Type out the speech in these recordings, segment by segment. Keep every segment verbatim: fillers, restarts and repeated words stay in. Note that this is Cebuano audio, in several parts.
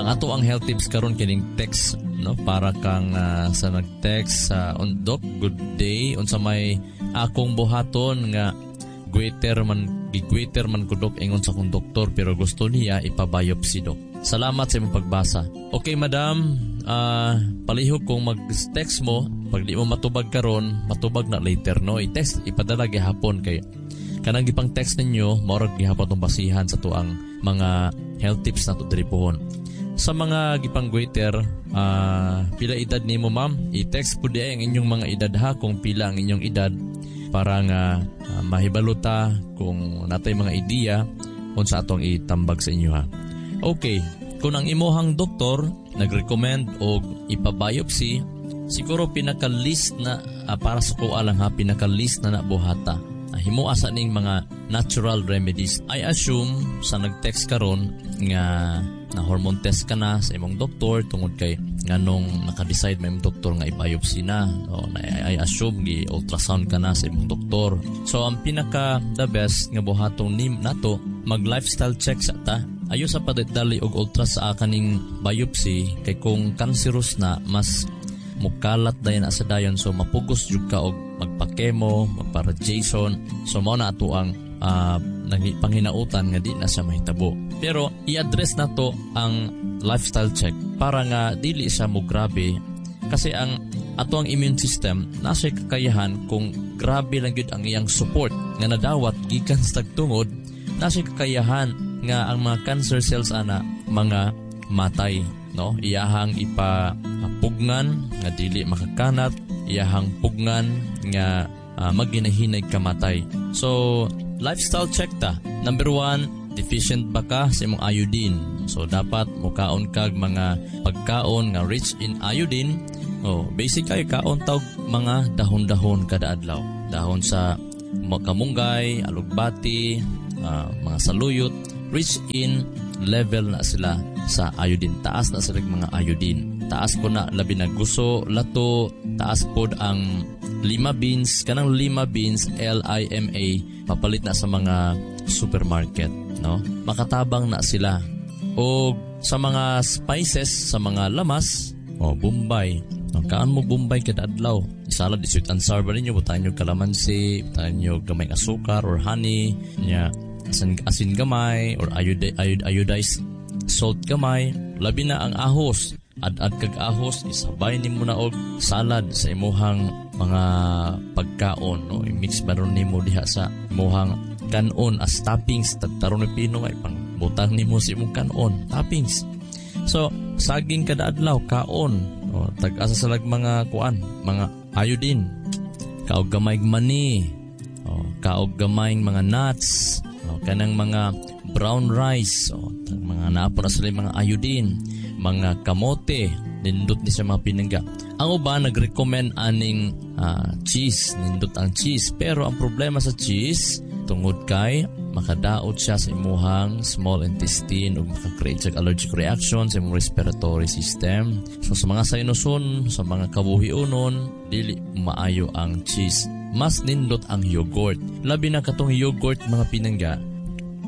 Ang ato ang health tips karon kining text, no, para kang uh, sa nag-text sa uh, Doc, good day, unsa may akong buhaton nga goiter man, gi-goiter man ko, Dok, ingon sa akong doktor, pero gusto niya ipa-biopsy, Dok. Salamat sa imong pagbasa. Okay, madam, uh, palihog kung mag-text mo, pag di mo matubag karon, matubag na later, no. I-text, ipadala gihapon kay kanang gipang text ninyo, maurag gihapon tong basihan sa tuang mga health tips nato diri pohon. Sa mga gipang goiter, uh, pila edad nimo, ma'am? I-text pud ang inyong mga edad ha, kung pila ang inyong edad para nga uh, mahibalo ta kung natay mga ideya unsa atong itambag sa inyo ha. Okay, kung ang imuhang doktor nag-recommend og ipa-biopsy, siguro pinaka-least na uh, para sa kuha lang ha, pinaka-least na nabuhata. Uh, himoa sa ning mga natural remedies. I assume sa nag-text karon nga na hormone test ka na sa imong doktor tungod kay nganong naka-decide may imong doktor nga i-biopsy na. No, na I assume gi ultrasound ka na sa imong doktor. So ang pinaka the best nga buhaton nim nato, mag lifestyle check sa ta. Ayo sa padali og ultra sa kaning biopsy kay kung cancerous na, mas mukalat dayon sa dayon, so mapugos jud ka og magpa-chemo, magpa-radiation. So mao na ato ang uh, panghinautan nga di na siya mahitabo. Pero i-address na to ang lifestyle check para nga dili siya mo grabe, kasi ang ato ang immune system nasa kakayahan kung grabe lang gyud ang iyang support nga nadawat gikan sa tagtungod, nasa kakayahan nga ang mga cancer cells ana mga matay, no. Iyahang ipapugngan nga dili makakanat, iyahang pugngan nga uh, magginahinay kamatay. So lifestyle check ta. Number one, deficient ba ka sa imong iodine? So dapat mukaon kag mga pagkaon nga rich in iodine. Oh, basic kay kaon tawg mga dahon-dahon kada adlaw. Dahon sa kamunggay, alugbati, uh, mga saluyot, rich in level na sila sa iodine. Taas na sila mga iodine. Taas po na labi na guso, lato, taas pod ang lima beans, kanang lima beans, L I M A, papalit na sa mga supermarket, no? Makatabang na sila. O sa mga spices, sa mga lamas, o Bombay. No, kaan mo Bombay kada adlaw. Isalad, sweet and sour ba ninyo, butangan nyo kalamansi, butangan nyo gamay asukar or honey, nya asin, asin gamay or iod, iod, iodized salt gamay. Labi na ang ahos. Ad-ad kag ahos, isabay nimo na og salad sa imuhang mga pagkaon, no? I-mix ba ron nimo diha sa imuhang kanon as toppings. Tagtaron ni pino ay pang butang nimo sa imong kanon, toppings. So saging kada adlaw kaon, o tag-asa sa lag mga kuan, mga iodine. Kaog gamay mani, o kaog gamay mga nuts, o kanang mga brown rice, o tag mga naapo na sila mga iodine, mga kamote, nindot ni sa mga pinangga. Ang uban nag-recommend aning uh, cheese, nindot ang cheese, pero ang problema sa cheese tungod kay makadaot siya sa imuhang small intestine ug maka-create siya allergic reaction sa imong respiratory system. So sa mga sinuson, sa mga kabuhiunon, dili maayo ang cheese. Mas nindot ang yogurt. Labi na katong yogurt, mga pinangga,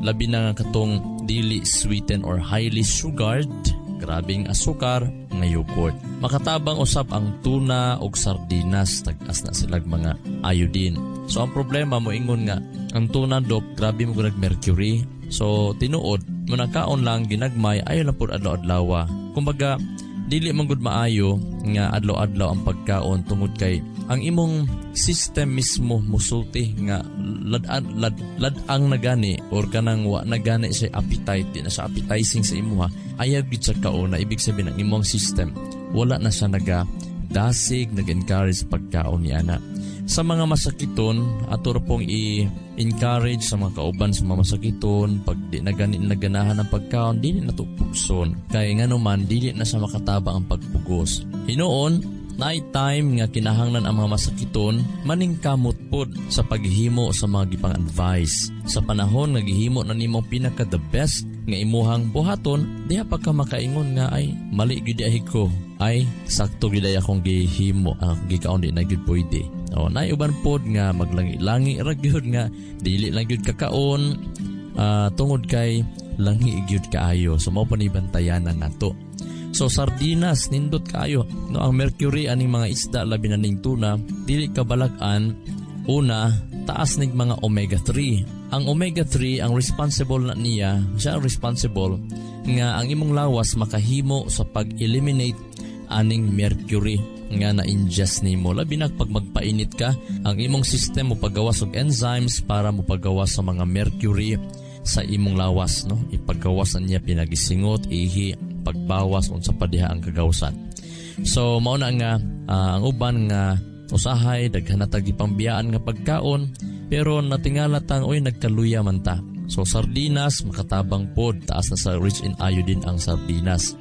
labi na katong dili sweetened or highly sugared, grabing asukar nga yogurt. Makatabang usab ang tuna og sardinas, tag-as na silag mga iodine. So ang problema, mo ingon nga ang tuna, Dok, grabe mo nag mercury. So tinuod, mo nakaon lang ginagmay, ayo lang pud adlaw-adlawa. Kumbaga dili man gud maayo nga adlaw-adlaw ang pagkaon tungod kay ang imong system mismo musulti nga lad lad lad-ang nagani or kanang wa nagani sa appetite, di na sa appetizing sa imuha, ayaw gid sa kaon na. Ibig sabihin, ang imong system wala na siya naga dasig, nag-encourage sa pagkaon ni ana. Sa mga masakiton, ato pong i-encourage sa mga kauban, sa mga masakiton, pag di na gani naganahan ang pagkaon, dili na to pugson. Kay nga naman, dili na sa makatabang ang pagpugos. Hinuon, night time nga kinahanglan ang mga masakiton, maningkamot pod sa paghimo sa mga gipang advice. Sa panahon nga gihimo na nimo pinaka the best nga imuhang buhaton, diha pa ka makaingon nga ay mali gyud ay ko, ay sakto gyud ay akong gihimo, ang akong gikaon di na gyud pwede. O naay uban pod nga maglangi-langi ra gyud nga dili lang gyud kakaon uh, tungod kay Langhi gyud kaayo. So mao pa ni bantayanan nato. So sardinas nindot kaayo. No, ang mercury aning mga isda, labi na ning tuna, dili ka balag-an. Una, taas nig mga omega three. Ang omega three ang responsible na niya, siya ang responsible nga ang imong lawas makahimo sa pag-eliminate aning mercury nga na-ingest nimo. Labi na pag magpainit ka, ang imong system mo pagawas og enzymes para mo pagawas sa mga mercury sa imong lawas, no? Ipagawas na niya pinagisingot, ihi, pagbawas, unsa pa diha ang kagawsan. So mao na nga uh, ang uban nga usahay daghan na tag gipambiyaan nga pagkaon, pero natingala tang, "Oy, nagkaluya man ta." So sardinas makatabang pod, taas na sa rich in iodine ang sardinas.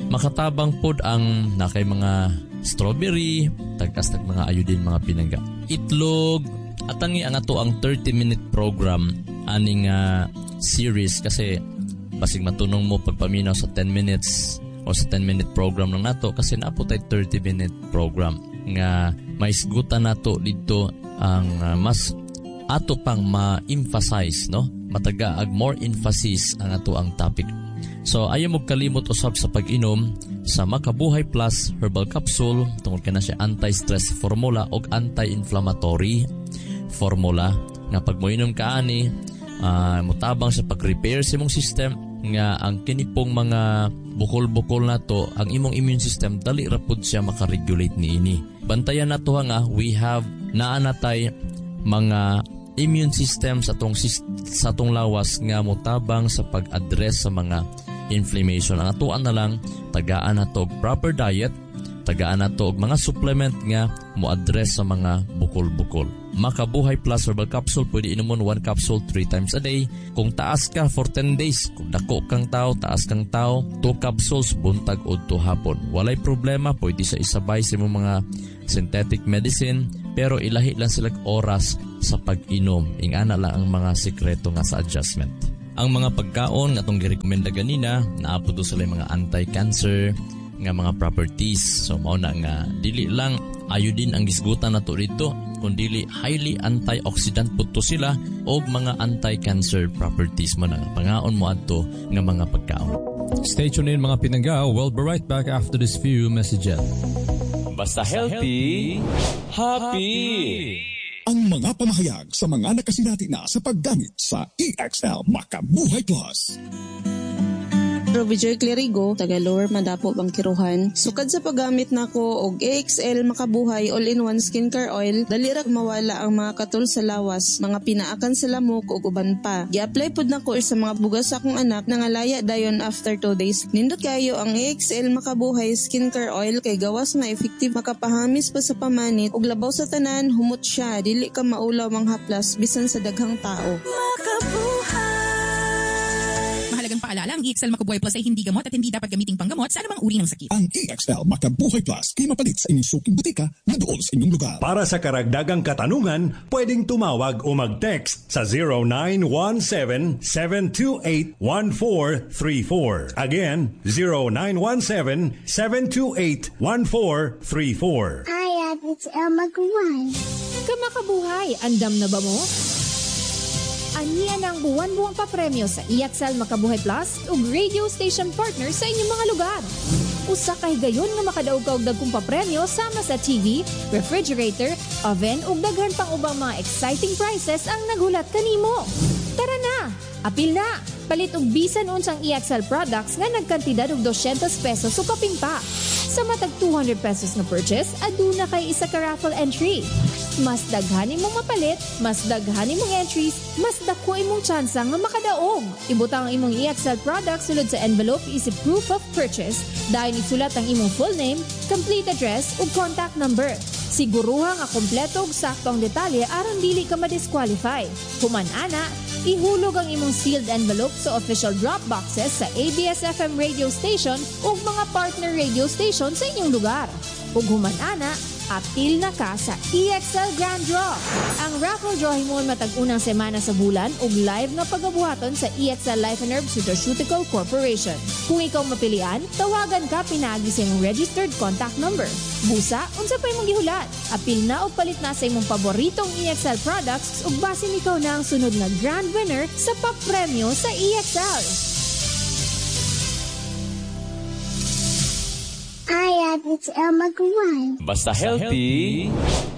Makatabang pod ang nakay mga strawberry, tagas nag mga iodine, mga pinangga. Itlog, atangi ang ato ang thirty minute program aning uh, series kasi basig matunong mo pagpaminaw sa ten minutes o sa ten minute program lang nato kasi naa po tay thirty minute program nga maisgutan nato dito ang uh, mas ato pang ma-emphasize, no, mataga ag more emphasis ang ato ang topic. So ayaw mo kalimot usab sa pag-inom sa Makabuhay Plus Herbal Capsule tungod kana siya anti-stress formula og anti-inflammatory formula nga pag moinom ka ani, uh, motabang sa pag-repair sa imong system nga ang kinipong mga bukol-bukol nato, ang imong immune system dali ra pud siya makaregulate niini. Bantayan nato nga we have naa natay mga immune system sa atong sa atong lawas nga motabang sa pag-address sa mga inflammation. Ang atuan na lang, tagaan nato og proper diet, tagaan nato og mga supplement nga mo-address sa mga bukol-bukol. Makabuhay Plus Herbal Capsule, pwede inumon one capsule three times a day. Kung taas ka for ten days, kung dako kang tao, taas kang tao, two capsules buntag udto hapon. Walay problema, pwede sa isabay sa imong mga synthetic medicine, pero ilahi lang sila oras sa pag-inom. Ingana lang ang mga sikreto nga sa adjustment. Ang mga pagkaon nga atong girekomenda ganina, naa po do sila mga anti-cancer nga mga properties. So mao na nga dili lang iodine ang gisgutan nato dito, kundi highly antioxidant pud to sila og mga anti-cancer properties man ang pangaon mo adto nga mga pagkaon. Stay tuned in, mga pinangga. We'll be right back after this few messages. Basta healthy, happy. Ang mga pamahayag sa mga nakasinati na sa paggamit sa E X L Makabuhay Plus. Ruby Joy Clerigo, taga Lower Madapo, Bangkiruhan. Sukad sa paggamit nako og A X L Makabuhay All-in-One Skincare Oil, dali ra mawala ang mga katol sa lawas, mga pinaakan sa lamok ug uban pa. Gi-apply pud nako sa mga bugas sa akong anak, nangalaya dayon after two days. Nindot kayo ang A X L Makabuhay Skincare Oil kay gawas nga effective, makapahamis pa sa pamanit ug labaw sa tanan, humot siya, dili ka maulaw manghaplas bisan sa daghang tao. Mahalagang paalala, ang E X L Makabuhay Plus ay hindi gamot at hindi dapat gamiting panggamot sa anumang uri ng sakit. Ang E X L Makabuhay Plus kay mapalit sa inyong suking butika na dool sa inyong lugar. Para sa karagdagang katanungan, pwedeng tumawag o mag-text sa zero nine one seven, seven two eight, one four three four. Again, zero nine one seven, seven two eight, one four three four. Hi, it's Elma Guan. Kamakabuhay, andam na ba mo? Aniya ng buwan-buwang papremyo sa E X L Makabuhay Plus ug radio station partner sa inyong mga lugar. Usa ka higayon nga makadaog ka og dagkong papremyo sama sa T V, refrigerator, oven ug daghan pang ubang mga exciting prizes ang naghulat kanimo. Tara na! Apil na! Palit og bisan unsang E X L products nga nagkantidad og dosyentos pesos o kapin pa. Sa matag two hundred pesos nga purchase, aduna kay isa ka raffle entry. Mas daghan imong mapalit, mas daghan imong entries, mas dako imong tsansa nga makadaog. Ibutang ang imong E X L products sulod sa envelope isip proof of purchase. Dayon isulat ang imong full name, complete address ug contact number. Siguruha nga kompleto ug sakto ang detalye aron dili ka ma-disqualify. Human ana, ihulog ang imong sealed envelope sa official drop boxes sa A B S-F M radio station ug mga partner radio station sa inyong lugar. Ug human ana, apil na ka sa E X L Grand Draw. Ang raffle draw himuon matag unang semana sa bulan ug live nga pagabuhaton sa E X L Life and Herbs Nutraceutical Corporation. Kung ikaw mapilian, tawagan ka pinaagi sa imong registered contact number. Busa, unsa pa imong gihulat? Apil na og palit na sa imong paboritong E X L products ug basin ikaw na ang sunod nga grand winner sa papremyo sa E X L. H X L Maguwan. Basta healthy,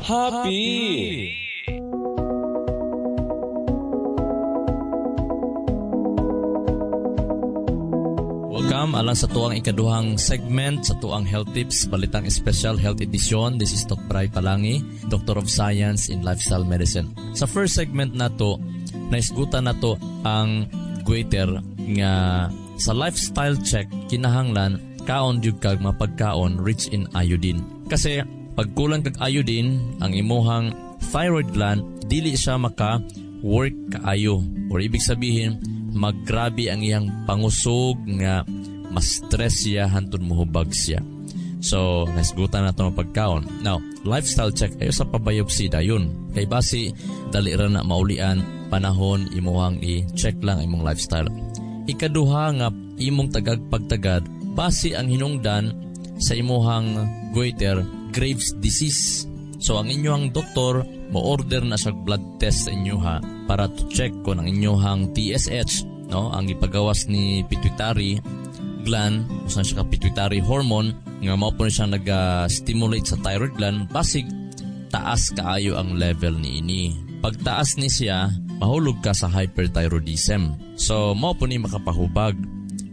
happy. Welcome alang sa tuang ikaduhang segment sa tuang Health Tips, Balitang Special Health Edition. This is Doctor Bry Palangi, Doctor of Science in Lifestyle Medicine. Sa first segment nato, naisgutan nato ang goiter nga sa lifestyle check kinahanglan kaon gyud kag mapagkaon rich in iodine. Kasi pag kulang kag iodine, ang imuhang thyroid gland dili siya maka work kaayo, or ibig sabihin maggrabe ang iyang pangusog nga mas stress siya hantod mohubag siya. So nasgutan na ito mapagkaon. Now, lifestyle check ayo sa pabiopsy dayon. Kay basi dali ra na maulian panahon imuhang i-check lang imong lifestyle. Ikaduha nga imong tagag pagtagad basi ang hinungdan sa imuhang goiter Graves disease. So ang inyong doktor mo-order na siya blood test sa inyo ha para to check kung ang inyong T S H, no, ang ipagawas ni pituitary gland, usan siya ka pituitary hormone nga mao po siya nag-stimulate sa thyroid gland, basig taas kaayo ang level niini. Pagtaas ni siya, mahulog ka sa hyperthyroidism. So mao po ni makapahubag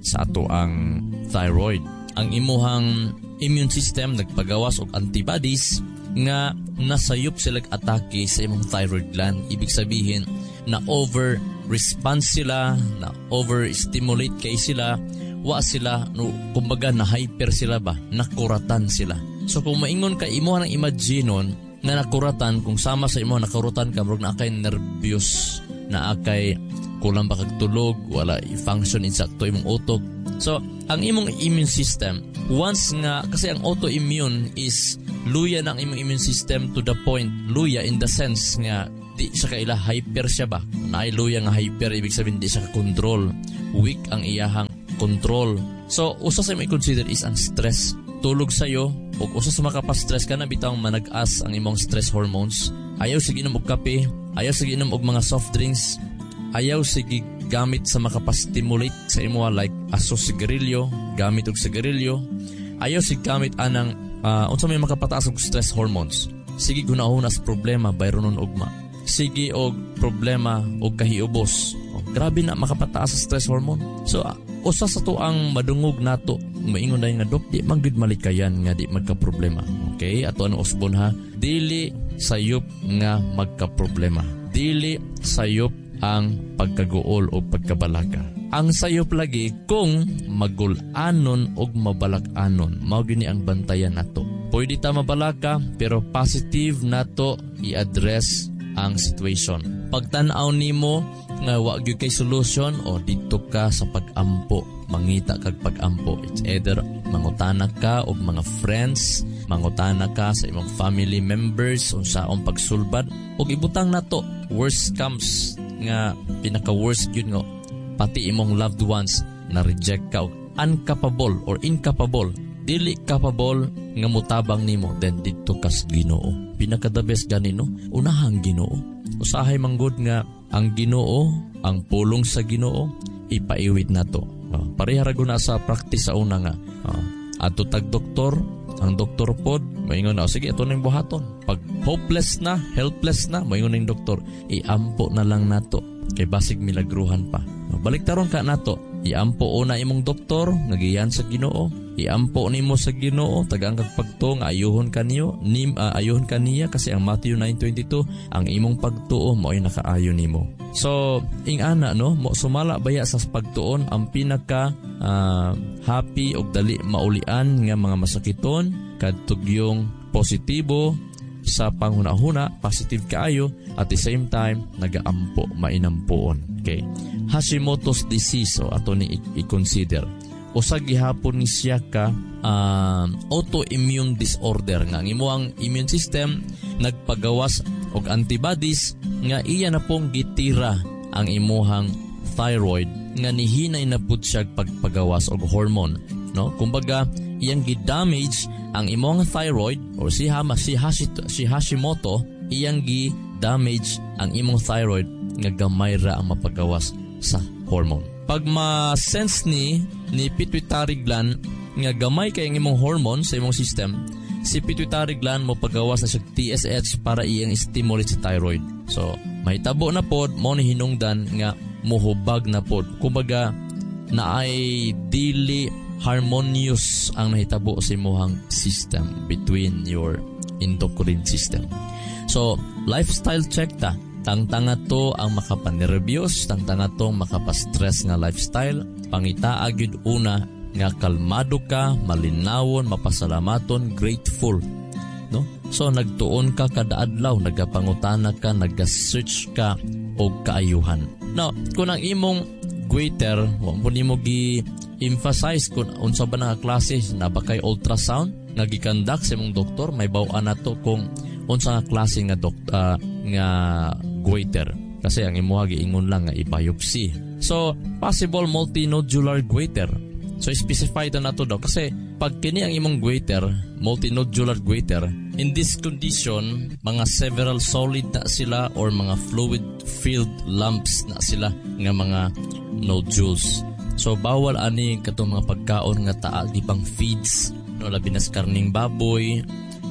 sa ato ang thyroid. Ang imuhang immune system nagpagawas og antibodies nga nasayop sila atake sa imong thyroid gland. Ibig sabihin na over response sila, na overstimulate kay sila, wa sila, no, kumbaga na hyper sila ba, nakuratan sila. So kung maingon ka imo nang imaginon nga nakuratan, kung sama sa imo nakurutan ka, murag naa kay nervyos, naa kay kulang ba kag tulog, wala i-function insakto imong utok. So ang imong immune system, once nga, kasi ang autoimmune is luya ng imong immune system to the point, luya in the sense nga di siya kaila hyper siya ba, naay luya nga hyper, ibig sabihin di siya ka-control, weak ang iyahang control. So usa sa imong i-consider is ang stress. Tulog sayo, ug usa sa makapastress ka na bitawng manag-as ang imong stress hormones. Ayaw sige inom og kape, ayaw sige inom og mga soft drinks, ayaw sige gamit sa makapastimulate sa imo like aso sigarilyo, gamit og sigarilyo. Ayaw sige gamit anang uh, unsa may makapataas og stress hormones. Sige gunahon as problema bayronon ugma. Sige og problema og kahiubos. Oh, grabe na makapataas sa stress hormone. So uh, usa sa to ang madungog nato maingon dai nga dok di man gud malikayan nga di magka-problema. Okay, ato ang usbon ha. Dili sayop nga magka-problema. Dili sayop ang pagkaguol o pagkabalaka. Ang sayop lagi kung magul-anon o mabalak-anon. Mao gini ang bantayan nato. Pwede ta mabalaka pero positive nato i-address ang situation. Pagtan-aw nimo nga wa gyud kay solution, o didto ka sa pag-ampo, mangita kag pag-ampo. It's either mangutana ka og mga friends, mangutana ka sa imong family members unsaon pagsulbad, og ibutang nato worst comes nga pinaka worst gyud nga pati imong loved ones na reject ka og uncapable or incapable, dili capable nga mutabang nimo, then didto ka sa Ginoo. Pinaka the best ganino, unahang Ginoo. Usahay manggod nga ang Ginoo, ang pulong sa Ginoo ipaiwit nato. Oh, pareha ra gud na sa practice sa una nga. Oh, adto tag doktor, ang doktor pod maingon na, oh, sige ato ning buhaton. Pag hopeless na, helpless na, maingon ning doktor, iampo na lang nato kay basig milagruhan pa. Oh, balik taron ka nato, iampo una imong doktor nga giyan sa Ginoo, iampo nimo sa Ginoo, tagaan kag pagtuo nga ayuhon kaniyo, nim uh, ayuhon kaniya kasi ang Matthew nine twenty-two, ang imong pagtuo mao'y nakaayo nimo. So ing-ana no, mo sumala baya sa pagtuon ang pinaka uh, happy og dali maulian nga mga masakiton kadtog yung positibo sa panghuna-huna, positive kaayo, at the same time nagaampo, mainampoon. Okay. Hashimoto's disease, o ato ni i-consider. Usa gihapon ni siya ka uh, autoimmune disorder nga ang imong immune system nagpagawas og antibodies nga iya na pong gitira ang imuhang thyroid nga nihinay na pud siya pagpagawas og hormone, no? Kumbaga iyang gi-damage ang imong thyroid or si Hama, si Hashito, si Hashimoto, iyang gi-damage ang imong thyroid nga gamay ra ang mapagawas sa hormone. Pag ma-sense ni ni pituitary gland nga gamay kay ang imong hormone sa imong system, si pituitary gland mo pagawas na siya T S H para iyang stimulate sa thyroid. So, mahitabo na pod mo ni hinungdan nga muhubag na pod. Kumbaga, naay dili harmonious ang nahitabo sa imong system between your endocrine system. So, lifestyle check ta. Tangtanga to ang makapanerbyos, tangtanga to ang makapastress nga lifestyle. Pangitaa gyud una nga kalmado ka, malinawon, mapasalamaton, grateful. No? So nagtuon ka kada adlaw, nagapangutana ka, nag-search ka og kaayuhan. Now, kung ang imong goiter, wa mo nimo gi emphasize kung unsa ba nga klase, na ba kay ultrasound nga gi-conduct sa imong doktor, may baw-an nato kung unsa nga klase nga dok, uh, nga goiter. Kasi ang imuha giingon lang nga i-biopsy. So, possible multinodular goiter. So, specify na nato daw. Kasi, pag kini ang imong goiter, multinodular goiter, in this condition, mga several solid na sila or mga fluid-filled lumps na sila nga mga nodules. So, bawal ani katong mga pagkaon nga taa gipang feeds, no, labi na sa karning baboy,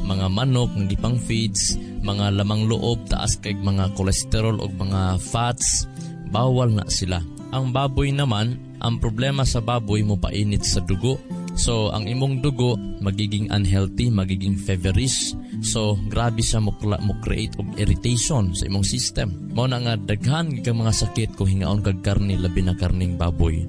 mga manok nga gipang feeds, mga lamang loob taas kay mga kolesterol o mga fats, bawal na sila. Ang baboy naman, ang problema sa baboy mo painit sa dugo. So, ang imong dugo magiging unhealthy, magiging feverish. So, grabe siya mo, mo create og irritation sa imong system. Mao na nga daghan kang mga sakit kung hingaon kag karne, labi na karning baboy.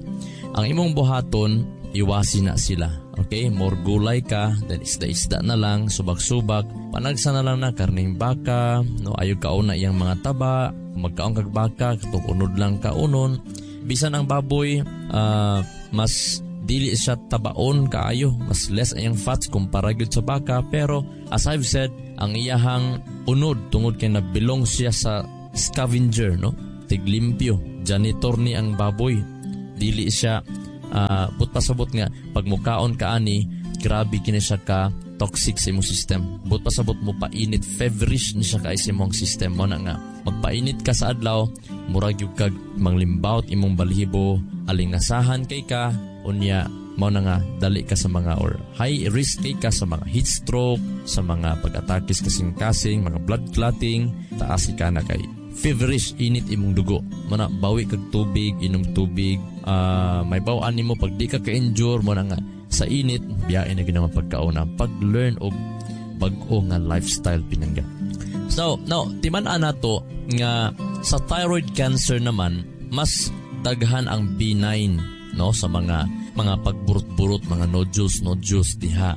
Ang imong buhaton, iwasi na sila. Okay, more gulay ka, then isda-isda na lang, subak-subak, panagsa na lang na karning baka, no, ayaw kaon na iyang mga taba, magkaon kag baka, katong unod lang kaunon. Bisan ang baboy, uh, mas dili siya tabaon kaayo, mas less ang fats kumpara gyud sa baka, pero as I've said, ang iyahang unod tungod kay nabilong siya sa scavenger, no? Tiglimpyo, janitor ni ang baboy. Dili siya Uh, but pasabot nga pag mukaon ka ani, grabe kini siya ka toxic sa imong system. But pasabot mo painit, feverish ni siya kay sa imong system. Mo na nga magpainit ka sa adlaw, murag gyud kag manglimbawt imong balhibo, alingasahan kay ka, unya mao na nga dali ka sa mga or high risk kay ka sa mga heat stroke, sa mga pag-atakis kasing-kasing, mga blood clotting, taas ka na kay feverish init imong dugo. Mana bawi kag tubig, inom tubig, uh, may baw-an nimo pag di ka ka-endure, mo na nga sa init, biyain na ginawa pagkauna, pag-learn og bag-o nga lifestyle pinangga. So, now, timan-an nato nga sa thyroid cancer naman, mas daghan ang benign, no, sa mga mga pagburot-burot, mga nodules, nodules diha.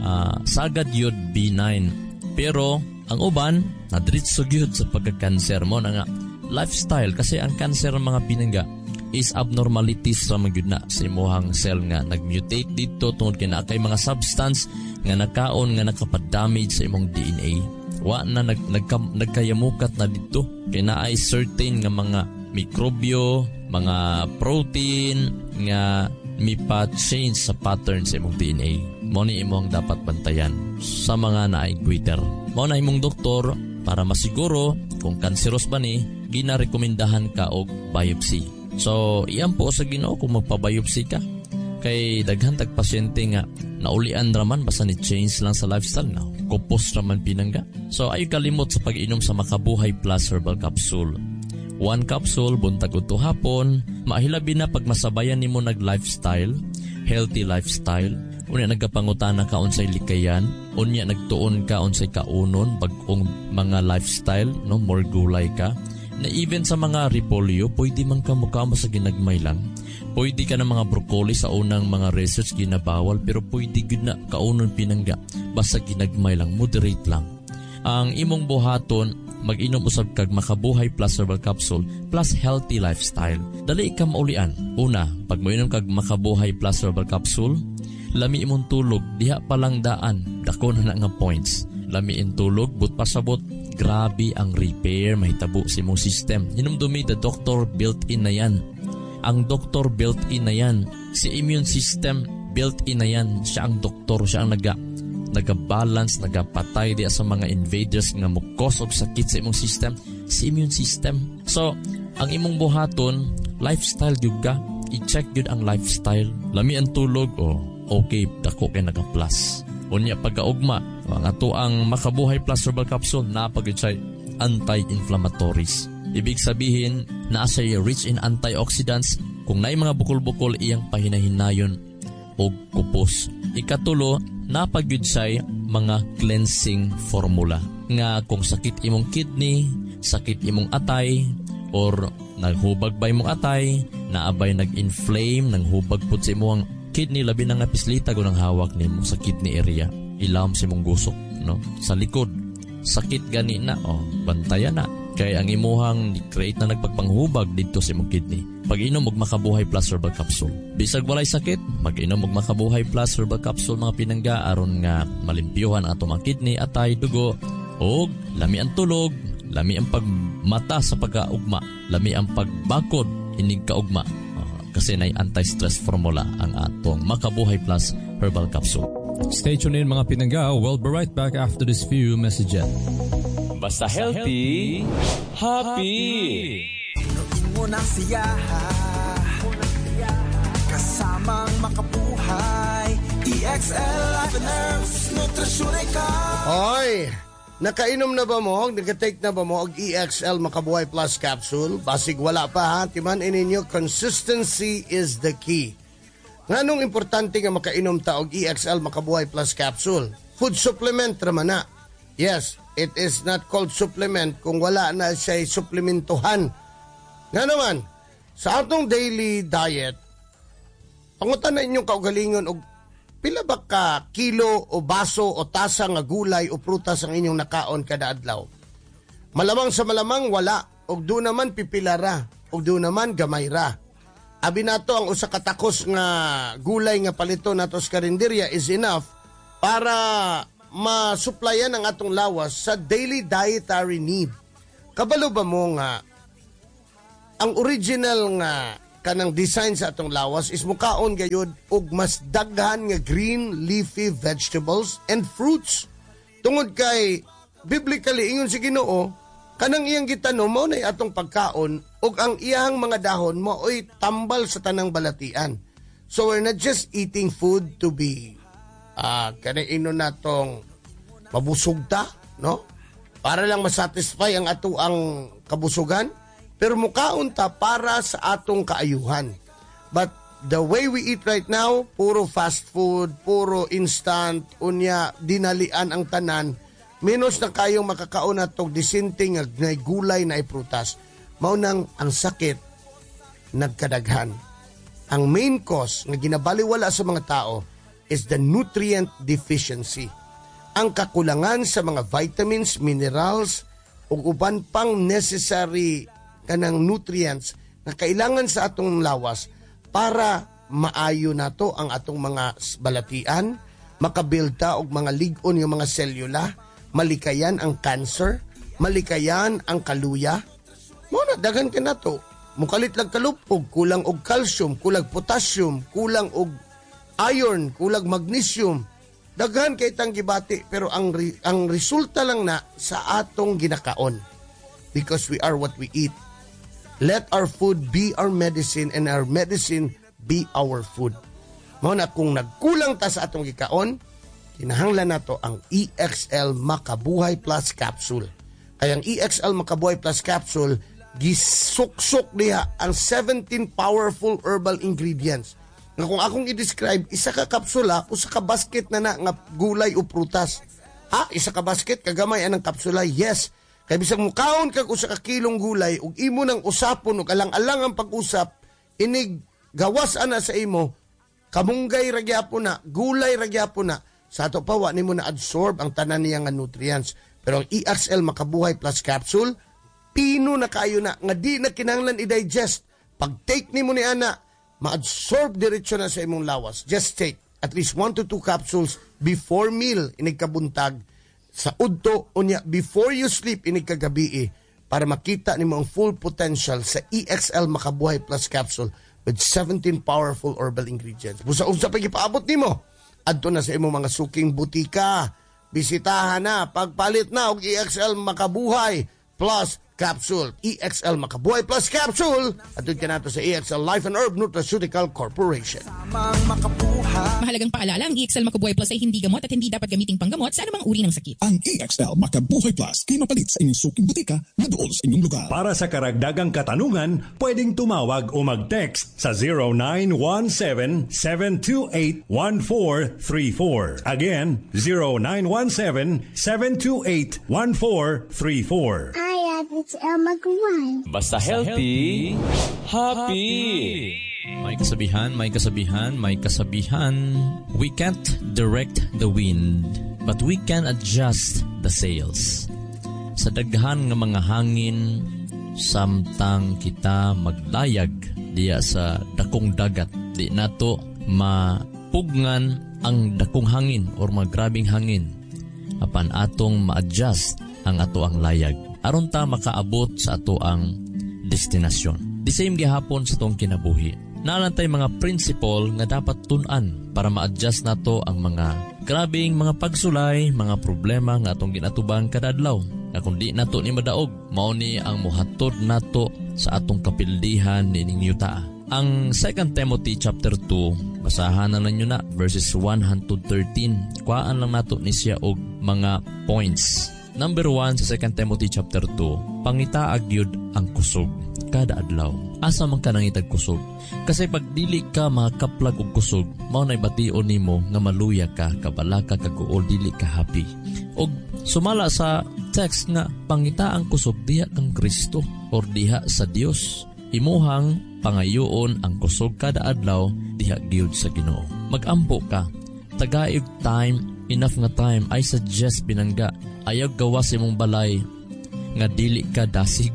Uh, sagad yun benign. Pero ang uban, nadiretso gyud sa pagka-cancer mo na nga lifestyle, kasi ang cancer ng mga pinangga is abnormalities ra man gyud na sa imuhang cell nga nag-mutate dito tungod kay naa kay mga substance nga nakaon nga nakapa-damage sa imong D N A. Wa na nag, nagka, nagkayamukat na dito kay naay certain nga mga mikrobyo, mga protein nga mipa-change sa pattern sa imong D N A. Mao ni imong dapat bantayan sa mga naay goiter. Mao na imong doktor para masiguro kung kanseros ba ni, ginarekomendahan ka og biopsy. So, iyan po sa Ginoo kung magpa-biopsy ka. Kay daghan tag pasyente nga naulian raman basta ni change lang sa lifestyle na. Kupos raman pinangga. So, ay kalimot sa pag-inom sa Makabuhay Plus Herbal Capsule. One capsule, buntag udto hapon. Mahilabi na pag masabayan nimo nag-lifestyle, healthy lifestyle. Unya nagkapangutana ka unsay likayan, unya nagtuon ka unsay kaunon, bag-ong mga lifestyle, no, more gulay ka. Na even sa mga repolyo, pwede man ka mukha mo sa ginagmay lang. Pwede ka ng mga broccoli sa unang mga research ginabawal, pero pwede gud na kaunon pinangga. Basta ginagmay lang, moderate lang. Ang imong buhaton, mag-inom usab kag Makabuhay Plus Herbal Capsule plus healthy lifestyle. Dali ka maulian. Una, pag moinom kag Makabuhay Plus Herbal Capsule, lami imong tulog, diha pa lang daan, dako na na nga points. Lami in tulog, but pasabot, grabe ang repair mahitabo sa imong system. Hinumdumi, the doctor built-in na yan. Ang doktor built-in na yan. Si immune system built-in na yan. Siya ang doktor, siya ang naga nagabalance, nagapatay diya sa mga invaders nga mukos og sakit sa imong system, si immune system. So, ang imong buhaton, lifestyle gyud ka. I-check gyud ang lifestyle. Lami ang tulog, oh. Okay, dako kay naka-plus. Unya pagkaugma, ang ato ang Makabuhay Plus Herbal Capsule naa pa gyud siya anti-inflammatories. Ibig sabihin, naa siya rich in antioxidants. Kung naay mga bukol-bukol, iyang pahinahinayon og kupos. Ikatulo, naa pa gyud siya mga cleansing formula. Nga kung sakit imong kidney, sakit imong atay, or naghubag ba imong atay, naabay nag-inflame, nanghubag pud sa imong kidney, labi na nga pislita ng hawak nimo sa kidney area, ilawom sa imong gusok, no? Sa likod, sakit gani na, oh, bantayan na. Kay ang imuhang create na nagpagpanghubag dito sa imong kidney. Pag-inom og Makabuhay Plus Herbal Capsule. Bisag walay sakit, mag-inom og Makabuhay Plus Herbal Capsule, mga pinangga, aron nga malimpyuhan ang atong mga kidney, atay, dugo, og lami ang tulog, lami ang pagmata sa pagkaugma, lami ang pagbakod inig kaugma. Uh, kasi nay anti-stress formula ang atong Makabuhay Plus Herbal Capsule. Stay tuned in, mga pinangga. We'll be right back after this few messages. Basta healthy, happy. Pinuin mo na siya kasamang Makabuhay E X L Life and Herbs Nutraceutical. Hoy! Nakainom na ba mo? Naka-take na ba mo og E X L Makabuhay Plus Capsule? Basig wala pa ha. Timan ninyo, consistency is the key. Nganong importante nga makainom ta og E X L Makabuhay Plus Capsule? Food supplement raman na. Yes, it is not called supplement kung wala na siya suplementuhan. Nga naman, sa atong daily diet, pangutan na inyong kaugalingon og pila ba ka kilo o baso o tasa nga gulay o prutas ang inyong nakaon kada adlaw? Malamang sa malamang wala, og do naman pipilara, og do naman gamay ra. Abi nato ang usa ka takos nga gulay nga palito nato sa karinderya is enough para masuplayan ang atong lawas sa daily dietary need. Kabalo ba mo nga ang original nga kanang design sa atong lawas is mukaon gayud og mas daghan nga green leafy vegetables and fruits? Tungod kay biblically, ingon si Ginoo, kanang iyang gitanom mao nay atong pagkaon ug ang iyang mga dahon mao'y tambal sa tanang balatian. So we're not just eating food to be ah kanang ino natong mabusog ta, no? Para lang masatisfy ang ato ang kabusugan, pero mukaon ta para sa atong kaayuhan. But the way we eat right now, puro fast food, puro instant, unya dinalian ang tanan, menos na kayong makakaon natong disente nga nay gulay na prutas. Mao nang ang sakit nagkadaghan. Ang main cause nga ginabaliwala sa mga tao is the nutrient deficiency. Ang kakulangan sa mga vitamins, minerals, ug uban pang necessary kanang nutrients na kailangan sa atong lawas para maayo nato ang atong mga balatian, makabuild ta og mga lig-on nga mga selula, malikayan ang cancer, malikayan ang kaluya. Mao na daghan ka nato. Mukalit lang kalupog, kulang og calcium, kulang potassium, kulang og iron, kulang magnesium. Daghan kay tang gibati, pero ang ang resulta lang na sa atong ginakaon. Because we are what we eat. Let our food be our medicine and our medicine be our food. Mao na kung nagkulang ta sa atong gikaon, kinahanglan nato ang E X L Makabuhay Plus Capsule. Kaya ang E X L Makabuhay Plus Capsule, gisuksok diha ang seventeen powerful herbal ingredients. Nga kung akong i-describe, isa ka kapsula, usa ka basket na na nga gulay o prutas. Ha? Isa ka basket, kagamay anang kapsula? Yes. Kay bisag mukaon kag usa ka kilong gulay ug imo nang usapon ug alang-alang ang pag-usap, inig gawas ana sa imo, kamunggay ra gyapon na, gulay ra gyapon na. Sa ato pa wa nimo na absorb ang tanan niya nga nutrients. Pero ang E X L Makabuhay Plus Capsule, pino na kayo na nga di na kinahanglan i-digest. Pag take nimo ni ana, ma-absorb diretso na sa imong lawas. Just take at least one to two capsules before meal inig kabuntag, sa udto, unya before you sleep inig kagabi, para makita nimo ang full potential sa E X L Makabuhay Plus Capsule with seventeen powerful herbal ingredients. Busa unsa pa gipaabot nimo? Adto na sa imong mga suking butika. Bisitahan na, pagpalit na og E X L Makabuhay Plus Capsule. E X L Makabuhay Plus Capsule. Adto ka nato sa E X L Life and Herb Nutraceutical Corporation. Mahalagang Mahalagang paalala, ang E X L Makabuhay Plus ay hindi gamot at hindi dapat gamiting panggamot sa anumang uri ng sakit. Ang E X L Makabuhay Plus kay mapalit sa inyong suking butika na duol sa inyong lugar. Para sa karagdagang katanungan, pwedeng tumawag o mag-text sa zero nine one seven, seven two eight, one four three four. Again, zero nine one seven, seven two eight, one four three four. Hi, it's Elma Guan. Basta healthy, happy. May kasabihan, may kasabihan, may kasabihan. We can't direct the wind, but we can adjust the sails. Sa daghan nga mga hangin, samtang kita maglayag diya sa dakong dagat, di nato mapugngan ang dakong hangin or magrabing hangin. Apan atong ma-adjust ang ato ang layag aron ta makaabot sa ato ang destinasyon. The same gihapon sa atong kinabuhi. Naa lang tay mga principle nga dapat tun-an para ma-adjust nato ang mga grabing mga pagsulay, mga problema nga atong ginatubang kada adlaw. Nga kung di nato ni madaog, mao ni ang muhatod nato sa atong kapildihan niining yuta. Ang Second Timothy chapter two, basahan na ninyo na verses one hangtod thirteen. Kuhaan lang nato ni siya og mga points. Number one sa Second Timothy chapter two, pangita gyud ang kusog kada adlaw. Asa man ka nangitag kusog? Kasi pag dili ka makaplag og kusog, mao nay bation nimo nga maluya ka, kabalaka, kaguol, dili ka happy. Og sumala sa text nga pangita ang kusog diha kang Kristo or diha sa Dios. Imuhang pangayoon ang kusog kada adlaw diha gyud sa Ginoo. Magampo ka. Tagaig time, enough nga time. I suggest, pinangga, ayaw gawas imong balay nga dili ka dasig.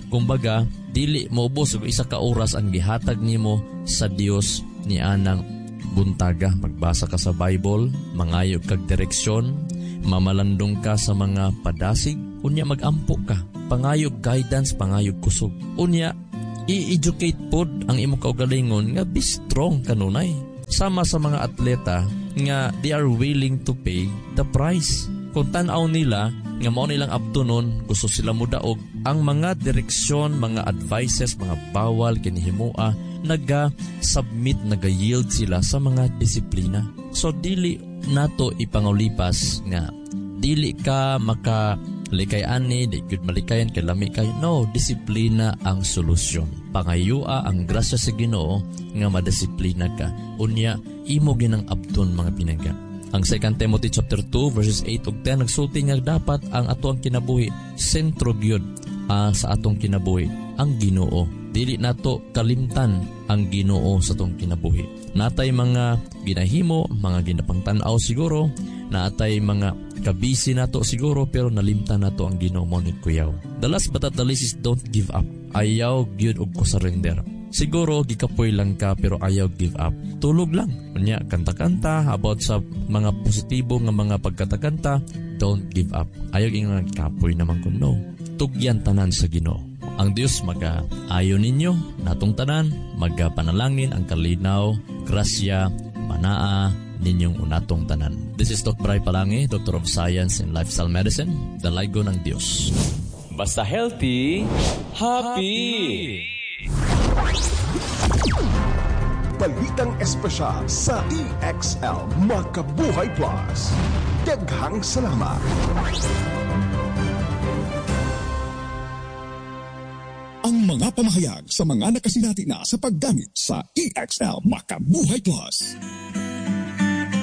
Kumbaga, dili moubos og isa ka oras ang gihatag nimo sa Dios ni anang buntaga. Magbasa ka sa Bible, mangayo kag direksyon, mamalandong ka sa mga padasig, unya magampo ka. Pangayog guidance, pangayog kusog. Unya, i-educate pod ang imong kaugalingon nga be strong kanunay. Sama sa mga atleta nga they are willing to pay the price. Kung tan-aw nila nga mao nilang abtunon, gusto sila mudaog, ang mga direksyon, mga advices, mga bawal kinihimua, naga-submit, naga-yield sila sa mga disiplina. So dili nato ipangulipas nga dili ka maka likay ani, di gyud malikayan kay lami kay. No, disiplina ang solusyon. Pangayua ang grasya sa Ginoo nga madisiplina ka. Unya, imo ginang abton, mga pinangga. Ang Second Timothy chapter two verses eight ug ten nagsulti nga dapat ang ato ang kinabuhi sentro gyud uh, sa atong kinabuhi ang Ginoo. Dili nato kalimtan ang Ginoo sa atong kinabuhi. Natay mga ginahimo, mga ginapangtan-aw siguro, naatay mga kabisi nato siguro, pero nalimtan nato ang Ginoo, mo ni kuyaw. The last but not the least is don't give up. Ayaw gyud og ko surrender. Siguro gikapoy lang ka pero ayaw give up. Tulog lang. Unya kanta-kanta about sa mga positibo nga mga pagkatakanta, don't give up. Ayaw ingon kapoy naman ko, no. Tugyan tanan sa Ginoo. Ang Dios maga ayo ninyo natong tanan, magapanalangin ang kalinaw, grasya, manaa ninyong unatong tanan. This is Doctor Bray Palangi, Doctor of Science in Lifestyle Medicine, Dalaygon ng Dios. Basta healthy, happy. Balitang espesyal sa E X L Makabuhay Plus. Daghang salamat. Ang mga pamahayag sa mga nakasinati na sa paggamit sa E X L Makabuhay Plus.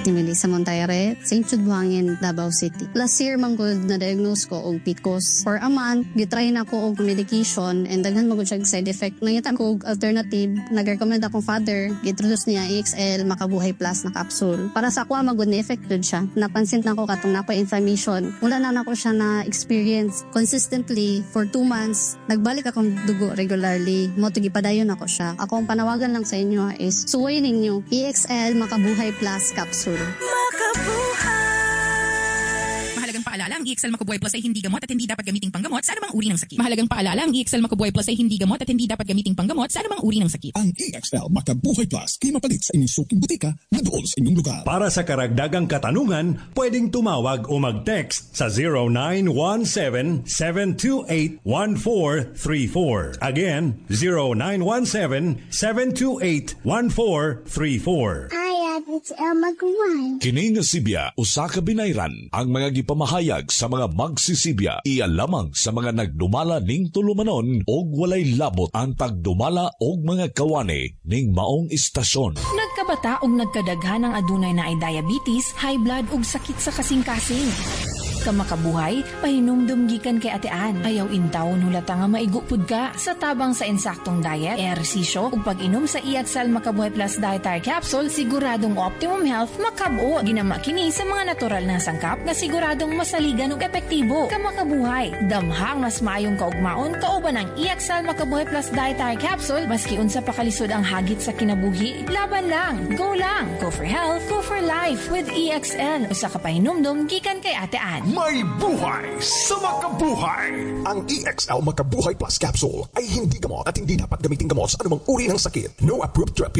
Ni Melissa Montaire, Saint Jude Buhangin, Davao City. Last year man gud na-diagnose ko og P C O S. For a month, gitry na ko og medication and daghan man gud siya side effect. Nangita ko og alternative, nag-recommend akong father, gi-introduce niya E X L Makabuhay Plus na capsule. Para sa ako man gud ni effect gud siya. Napansin na ko katong nako inflammation. Wala na nako siya na experience consistently for two months. Nagbalik akong dugo regularly. Mo to gipadayon ako siya. Akong panawagan lang sa inyo is suway ninyo E X L Makabuhay Plus capsule. Mahalagang paalala, paalala, ang E X L Makabuhay Plus ay hindi gamot at hindi dapat gamiting panggamot sa anumang uri ng sakit. Mahalagang paalala, ang E X L Makabuhay Plus ay hindi gamot at hindi dapat gamiting panggamot sa anumang uri ng sakit. Ang E X L Makabuhay Plus kay mapalit sa inyong suking butika na duol sa inyong lugar. Para sa karagdagang katanungan, pwedeng tumawag o mag-text sa zero nine one seven, seven two eight, one four three four. Again, zero nine one seven, seven two eight, one four three four. I X L Magawan. Kini nga sibya usa ka binayran. Ang mga gipamahayag sa mga magsisibya iya lamang sa mga nagdumala ning tulumanon og walay labot ang tagdumala og mga kawani ning maong istasyon. Nagkabata og nagkadaghan ang adunay naay diabetes, high blood ug sakit sa kasing-kasing. Kamakabuhay, pahinumdum gikan kay Ate Ann. Ayaw intawon hulata nga maigo pud ka. Sa tabang sa insaktong diet, ehersisyo, ug pag-inom sa E X L Makabuhay Plus Dietary Capsule, siguradong optimum health makab-o. Ginama kini sa mga natural na sangkap nga siguradong masaligan ug epektibo. Kamakabuhay, damhang mas maayong kaugmaon kauban ang E X L Makabuhay Plus Dietary Capsule. Maski unsa pa kalisod ang hagit sa kinabuhi, laban lang, go lang, go for health, go for life with E X L. Usa ka pahinumdum gikan kay Ate Ann. May buhay sa makabuhay! Ang E X L Makabuhay Plus Capsule ay hindi gamot at hindi dapat gamitin gamot sa anumang uri ng sakit. No approved therapy.